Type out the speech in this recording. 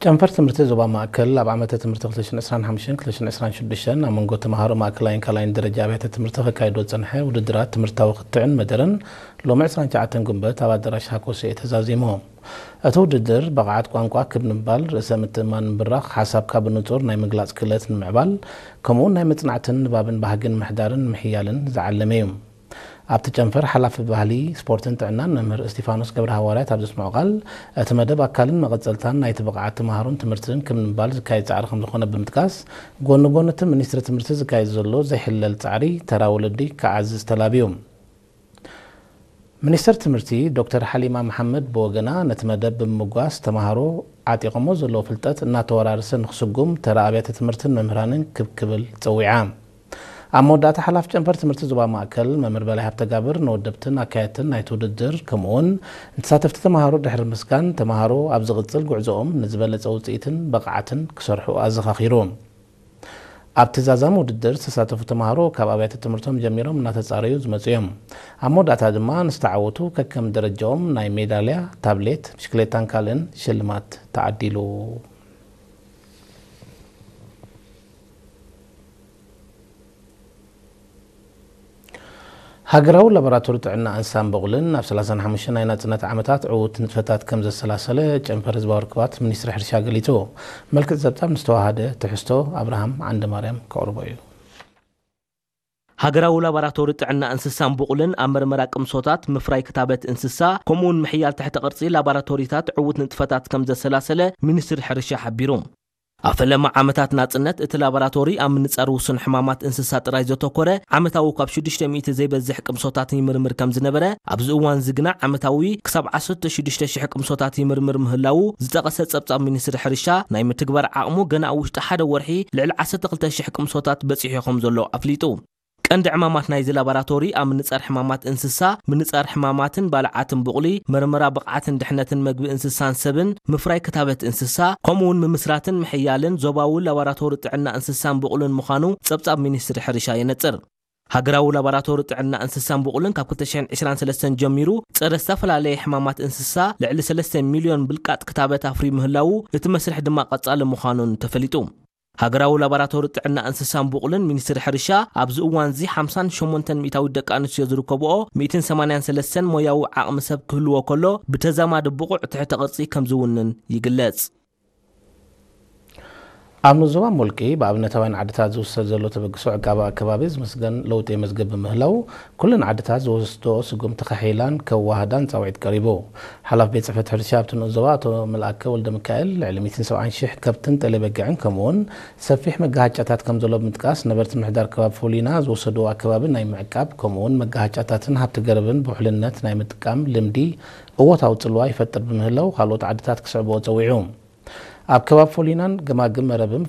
ጨንፈር ትምህርቲ ዞባ ማእከል ኣብ ዓመተ ትምህርቲ ክልተ ሽሕን ዕስራን ሓሙሽተን ክልተ ሽሕን ዕስራን ሽዱሽተን ኣብ መንጎ ተምሃሮ ማእከላይን ካልኣይን ደረጃ ኣብያተ ትምህርቲ ከካይዶ ዝጸንሐ ውድድራት ትምህርታዊ ክትዕን መደረን ሎሚ ዕስራን ትሽዓተን ጉንበት ኣብ ኣዳራሽ ሃኮሴ ተዛዚሙ። እቲ ውድድር ብቕዓት ቋንቋ ክብ ንምባል፣ ርእሰ ምትእምማን ምብራኽ፣ ሓሳብካ ብንጹር ናይ ምግላጽ ክእለት ንምዕባል፣ ከምኡውን ናይ መጽናዕትን ንባብን ባህግን ምሕዳርን ምሕያልን ዝዓለመ እዩ። ኣብቲ ጨንፈር ሓላፊ ባህሊ፣ ስፖርትን ጥዕናን መምህር እስቲፋኖስ ገብረ ሃዋርያት ኣብ ዘስምዖ ቃል፣ እቲ መደብ ኣካልን መቐጸልታን ናይቲ ብቕዓት ተምሃሮን ትምህርትን ክብ ንምባል ዝካየድ ጻዕሪ ከም ዝኾነ ብምጥቃስ፣ ጎኒ ጎኒ እቲ ሚኒስትሪ ትምህርቲ ዝካየድ ዘሎ ዘይሕለል ጻዕሪ ተራ ወለዲ ክዓዝዝ ተላብዩ። ሚኒስትር ትምህርቲ ዶክተር ሓሊማ መሓመድ ብወገና ነቲ መደብ ብምምጓስ ተምሃሮ ዓጢቖሞ ዘለዉ ፍልጠት እናተወራረሰ ንክስጉም ተራ ኣብያተ ትምህርትን መምህራንን ክብ ክብል ጸዊዓ። ኣብ መወዳእታ ሓላፊ ጨንፈር ትምህርቲ ዞባ ማእከል መምህር በላይ ሃብተጋብር ንወደብትን ኣካየድትን ናይቲ ውድድር ከምኡውን ንተሳተፍቲ ተምሃሮ ድሕሪ ምስጋን ተምሃሮ ኣብ ዝቕጽል ጉዕዞኦም ንዝበለጸ ውጽኢትን ብቕዓትን ክሰርሑ ኣዘኻኺሩ። ኣብቲ ዛዛሚ ውድድር ዝተሳተፉ ተምሃሮ ካብ ኣብያተ ትምህርቶም ጀሚሮም እናተጻረዩ ዝመጹ እዮም። ኣብ መወዳእታ ድማ ንዝተዓወቱ ከከም ደረጃኦም ናይ ሜዳልያ፣ ታብሌት፣ ብሽክሌታን ካልእን ሽልማት ተዓዲሉ። ሃገራዊ ላቦራቶሪ ጥዕና እንስሳን በቑልን ኣብ ሰላሳን ሓሙሽተን ናይ ናጽነት ዓመታት ዕዉት ንጥፈታት ከም ዘሰላሰለ ጨንፈር ህዝባዊ ርክባት ሚኒስትሪ ሕርሻ ገሊጹ። መልክዕ ጸብጻብ ንዝተዋሃደ ትሕዝቶ ኣብርሃም ዓንደማርያም ከቕርቦ እዩ። ሃገራዊ ላቦራቶሪ ጥዕና እንስሳን በቑልን ኣብ መርመራ ቅምሶታት፣ ምፍራይ ክታበት እንስሳ፣ ከምኡውን ምሕያል ትሕተ ቅርጺ ላቦራቶሪታት ዕዉት ንጥፈታት ከም ዘሰላሰለ ሚኒስትሪ ሕርሻ ሓቢሩ። ኣብ ፈለማ ዓመታት ናጽነት እቲ ላቦራቶሪ ኣብ ምንጻር ውሱን ሕማማት እንስሳ ጥራይ ዘተኮረ ዓመታዊ ካብ ሽዱሽተ ሚእቲ ዘይበዝሕ ቅምሶታት ይምርምር ከም ዝነበረ፣ ኣብዚ እዋን እዚ ግና ዓመታዊ ክሳብ ዓሰርተ ሽዱሽተ ሽሕ ቅምሶታት ይምርምር ምህላዉ ዝጠቐሰ ጸብጻብ ሚኒስትሪ ሕርሻ፣ ናይ ምትግባር ዓቕሙ ገና ኣብ ውሽጢ ሓደ ወርሒ ልዕሊ ዓሰርተ ክልተ ሽሕ ቅምሶታት በጺሑ ከም ዘሎ ኣፍሊጡ። ቀንዲ ዕማማት ናይዚ ላቦራቶሪ ኣብ ምንጻር ሕማማት እንስሳ፣ ምንጻር ሕማማትን ባልዓትን ብቑሊ፣ መርመራ ብቕዓትን ድሕነትን መግቢ እንስሳን ሰብን፣ ምፍራይ ክታበት እንስሳ፣ ከምኡውን ምምስራትን ምሕያልን ዞባዊ ላቦራቶሪ ጥዕና እንስሳን ብቑልን ምዃኑ ጸብጻብ ሚኒስትሪ ሕርሻ የነጽር። ሃገራዊ ላቦራቶሪ ጥዕና እንስሳን ብቑልን ካብ ክልተ ሽሕን ዕስራን ሰለስተን ጀሚሩ ጸረ ዝተፈላለየ ሕማማት እንስሳ ልዕሊ ሰለስተ ሚልዮን ብልቃጥ ክታበት ኣፍርዩ ምህላዉ እቲ መስርሕ ድማ ቀጻሊ ምዃኑን ተፈሊጡ። ሃገራዊ ላቦራቶሪ ጥዕና እንስሳን ብቑልን ሚኒስትሪ ሕርሻ ኣብዚ እዋን እዚ ሓምሳን ሸሞንተን ሚእታዊት ደቂ ኣንስትዮ ዝርከብኦ ሚእትን ሰማንያን ሰለስተን ሞያዊ ዓቕሚ ሰብ ክህልዎ ከሎ ብተዛማዲ ብቑዕ ትሕተ ቅርጺ ከም ዝውንን ይግለጽ። ኣብ ንዞባ ሙልቂ ብኣብነታውያን ዓድታት ዝውሰድ ዘሎ ተበግሶ ዕቃባ ኣከባቢ ዝምስገን ለውጢ የመዝግብ ብምህላው ኩለን ዓድታት ዝወስድኦ ስጉምቲ ከሕይላን ከዋህዳን ጻውዒት ቀሪቡ። ሓላፊ ቤት ጽሕፈት ሕርሻ ኣብቲ ንኡስ ዞባ ኣቶ መልኣከ ወልደሚካኤል ልዕሊ ሚእትን ሰብዓን ሽሕ ከብትን ጤለ በጊዕን ከምኡውን ሰፊሕ መጋሃጫታት ከም ዘሎ ብምጥቃስ ነበርቲ ምሕዳር ከባቢ ፎሊና ዝወሰድዎ ኣከባቢ ናይ ምዕቃብ ከምኡውን መጋሃጫታትን ሃብቲ ገረብን ብውሕልነት ናይ ምጥቃም ልምዲ እወታዊ ጽልዋ ይፈጥር ብምህላው ካልኦት ዓድታት ክስዕብኦ ጸዊዑ። ኣብ ከባቢ ፎሊናን ገማግም መረብን